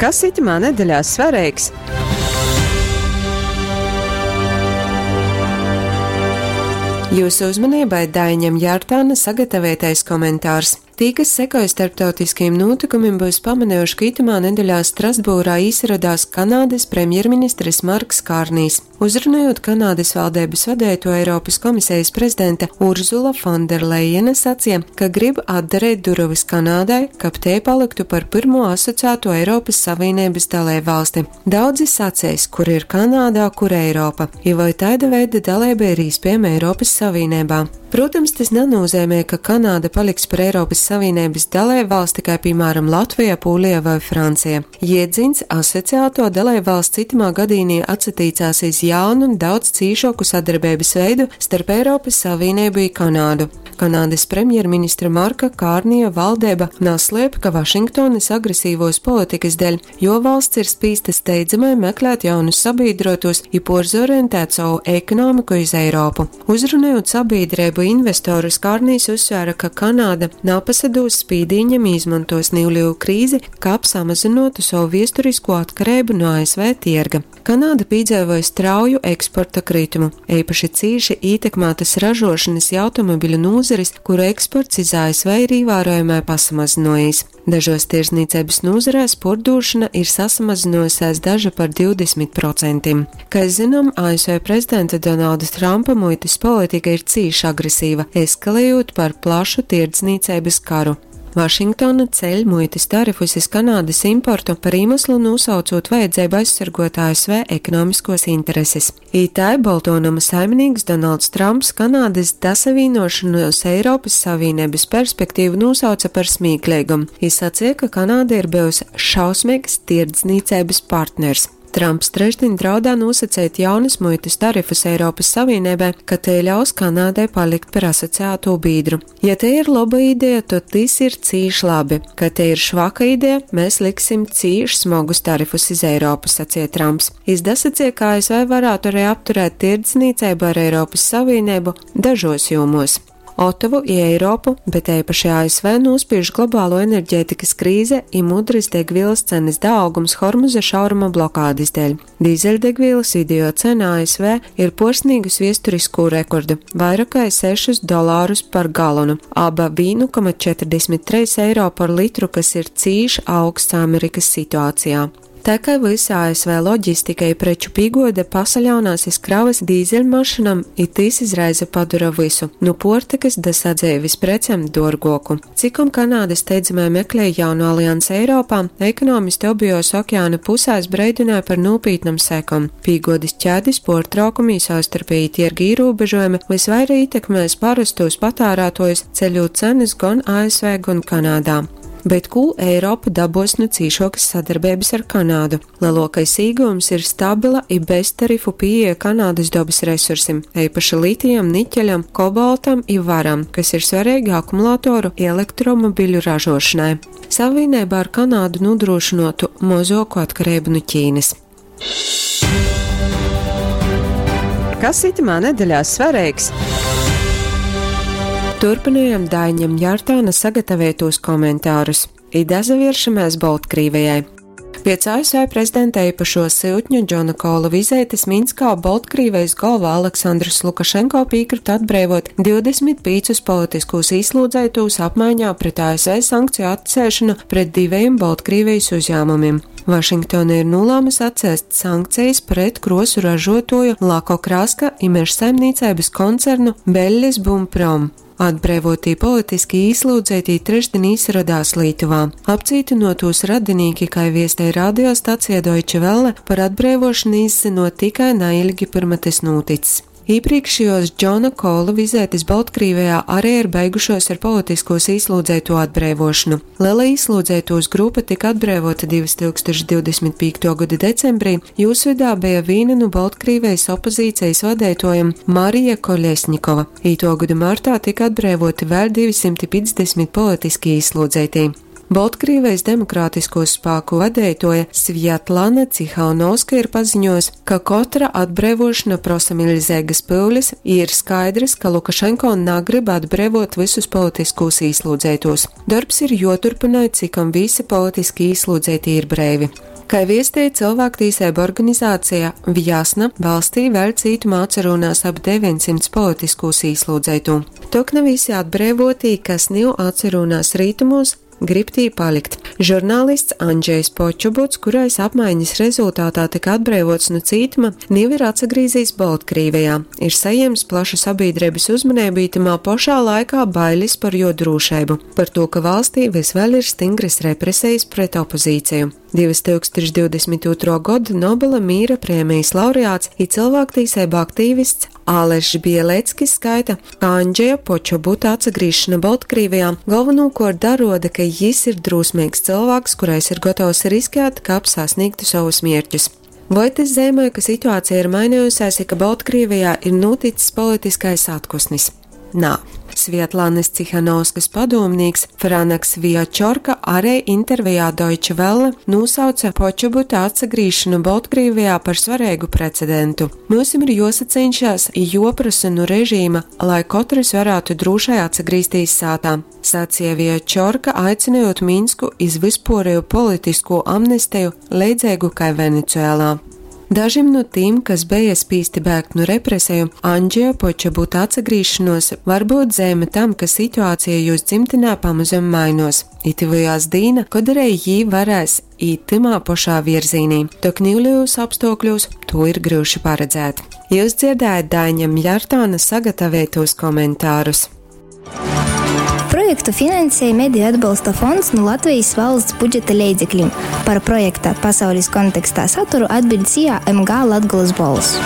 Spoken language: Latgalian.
Kas itymā nedeļā svareigs? Jūsu uzmanībai Daiņam Jārtāna sagatavotais komentārs. Tī, kas sekoja starptautiskajiem nūtykumim, byus pamanejuši, ka itymā nedeļā Strasbūrā īsarodās Kanādas premjerministrs Marks Kārnijs. Uzrunojot Kanādas valdības vadeituo Eiropas komisijas prezidente Urzula Fonderlejena sacīja, ka grib atdarīt durovas Kanādai, kab tei paliktu par pirmo asociēto Eiropas Savienības dalību valsti. Daudzi sacēs, kur ir Kanādā, kur Eiropa, i voi taida veida dalība ir īspējama Eiropas Savienībā. Protams, tas nenozīmē, ka Kanāda paliks par Eiropas Savienības dalību valsti, kā piemēram Latvija, Pūlija vai Francija. Jēdziens asociēto dalību valsts itamā gadīnī atsatīcās iz jaunu un daudz cīšoku sadarbības veidu starp Eiropas Savienību i Kanādu. Kanādas premjerministra Marka Kārnija valdība naslēp, ka Vašingtonas agresīvos politikas dēļ, jo valsts ir spīsta steidzamai meklēt jaunus sabiedrotos i porzorientēt savu ekonomiku iz Eiropu. Uzrunājot sabiedrību investorus, Kārnijs uzsvēra, ka Kanāda napasadūs spīdīņam izmantos nīvļu krīzi, kap samazinotu savu viesturisko atkarību no ASV tirga. Kanāda piedzīvoja strauju eksporta kritumu, īpaši cīši ietekmētas ražošanas i automobiļu nūzaris, kuru eksports iz ASV ir ievērojamai pasamazinojis. Dažos tirzniecības nozarēs pordošana ir sasamazinājusies daža par 20%. Kā zinām, ASV prezidenta Donalda Trumpa muitas politika ir cīši agresīva, eskalējot par plašu tirdzniecības karu. Vašingtona ceļ muitas tarifus iz Kanādas importu par iemeslu nosaucot vajadzību aizsargot ASV ekonomiskos intereses. Itai Boltonama saimnieks Donalds Trumps Kanādas dasavīnošanos Eiropas Savienības perspektīvu nosauca par smieklīgumu. Viņš sacīja, ka Kanāda ir bijusi šausmīgs tirdzniecības partners. Trumps trešdien draudā nosacīt jaunas muitas tarifus Eiropas Savienībai, ka tie ļaus Kanādai palikt par asociēto biedru. Ja te ir laba ideja, tad tas ir cīši labi. Ka te ir švaka ideja, mēs liksim cīši smagus tarifus iz Eiropu, sacīja Trumps. Izdasacīja, ka ASV varētu arī apturēt tirdzniecību ar Eiropas Savienību dažos jomos. Otavu i Eiropu, bet īpaši ASV nospiež globālo enerģētikas krīze i mudris degvielas cenas daaugums Hormuza šauruma blokādes dēļ. Dīzeļdegvielas video cena ASV ir porsnīgus viesturisku rekordu - vairāk kā 6 dolārus par galonu, aba 1,43 eiro par litru, kas ir cīši augsts Amerikas situācijā. Tā kā visa ASV loģistika i preču pīgode pasaļaunās iz kravas dīzeļmašinam, i tys izraisa padara visu, nu puortykas da sadzeivis precem duorguoku. Cikom Kanāda steidzamai meklē jaunu aliansi Eiropā, ekonomisti obijos okeāna pusēs breidināja par nūpītnam sekom. Pīgodis ķēdis puortraukumi i savstarpēji tierga īrūbežojumi visvaira ītekmēs parastos patārātojus, ceļot cenas gon ASV, gon Kanādā. Bet ko Eiropa dabos nu cīšokas sadarbības ar Kanādu? Lielākais īgūms ir stabila i beztarifu pieeja Kanādas dobas resursim, īpaši litijam, niķeļam, kobaltam i varam, kas ir svarīgi akumulātoru i elektromobiļu ražošanai. Savienībā ar Kanādu nodrošinotu mozoku atkarību no Ķīnas. Kas itamā nedeļā svarīgs? Turpinājam Daiņam Jārtāna sagatavotos komentārus. I dazavieršamies Boltkrīvijai. Pēc ASV prezidenta īpašo siltņu Džona Kola vizētes Minskā Boltkrīvijas galva Aleksandrs Lukašenko piekrita atbrīvot 25 politiskos īslūdzētos apmaiņā pret ASV sankciju atcēšanu pret diviem Boltkrīvijas uzņēmumiem. Vašingtona ir nolēmusi atcēst sankcijas pret krosu ražotoju Lako Kraska i mežsaimniecības koncernu Beļļes Bumprom. Atbrīvotī politiski īslūdzētī trešdien īsaradās Lītuvā. Apcītinotos radinīki, kā viestēja radiostacija Deutsche Welle, par atbrīvošanu izzinot tikai neilgi pirma tas noticis. Iepriekšējos Džona Kola vizētis Baltkrievijā arī ir beigušos ar politiskos īslūdzēto atbrīvošanu. Liela īslūdzētos grupa tika atbrīvota 2025. gada decembrī, jūs vidā bija viena no Baltkrievijas opozīcijas vadētojiem Marija Koļesņikova. Īto gadu martā tika atbrīvoti vēl 250 politiski īslūdzētī. Boltkrīvejis demokrātiskūs spāku vadeituoja Svjatlana Cihaunovska ir paziņojusi, ka kotra atbreivošana prosa miļzeigas pyulis i ir skaidrys, ka Lukašenko nagryb atbreivot vysus politiskūs īslūdzeitūs. Dorbs ir juoturpynoj, cikom vysi politiski īslūdzeitī ir breivi. Kai viestej cylvāktīseibu organizācija Vjasna, valstī vēļ cītumā atsarūnās ap 900 politiskūs īslūdzeitū. Tok na vysi atbreivotī, kas niu atsarūnās rītumūs, grib tī palikt. Žurnālists Andžejs Počobuts, kurais apmaiņas rezultātā tika atbreivots nu cītuma, niu ir atsagrīzīs Boltkrīvejā, ir sajiems plašu sabīdreibys uzmaneibu i tymā pošā laikā bailis par juo drūšeibu, partū ka valstī vys vēļ ir stingrys represejis pret opozīceju. 2022. Goda Nobela mīra prēmejis laureāts i cylvāktīseibu aktīvists Alešs Bieleckis skaita, ka Andžeja Počobuta atsagrīzšona Boltkrīvejā galvenūkuort daruoda, ka jis ir drūsmeigs cylvāks, kurais ir gotovs riskēt, kab sasnīgtu sovus mierķus. Voi tys zeimoj, ka situācija ir mainejusēs i ka Boltkrīvejā ir nūtics politiskais atkusnis? Nā. Svietlanas Cihanovskas padūmnīks Franaks Viačorka arī intervijā Deutsche Welle nūsauca Počobuta atsagrīšanu Boltkrīvijā par svareigu precedentu. Myusim ir juosaceņšās i juoprasa nu režīma, lai kotrys varātu drūšai atsagrīztīs sātā, sacīja Viačorka, aicynojot Minsku iz vyspuoreju politiskū amnesteju, leidzeigu kai Venecuēlā. Dažim nu tīm, kas beja spīsti bēgt nu represeju, Andžeja Počobuta atsagrīšanos var būt zeime tam, ka situācija jūs dzimtinē pamazam mainos. I tyvojās dīna, kod arī jī varēs īt tymā pošā virzīnī, tok niulejūs apstuokļūs tū ir gryuši paredzēt. Jūs dzirdējat Daiņa Mjartāna sagataveitūs komentārus. Projektu finansēja Mediju atbalsta fonds nu Latvejis valsts budžeta leidzeklim. Par projekta Pasaulis kontekstā saturu atbiļd SIA MG Latgolys bolss.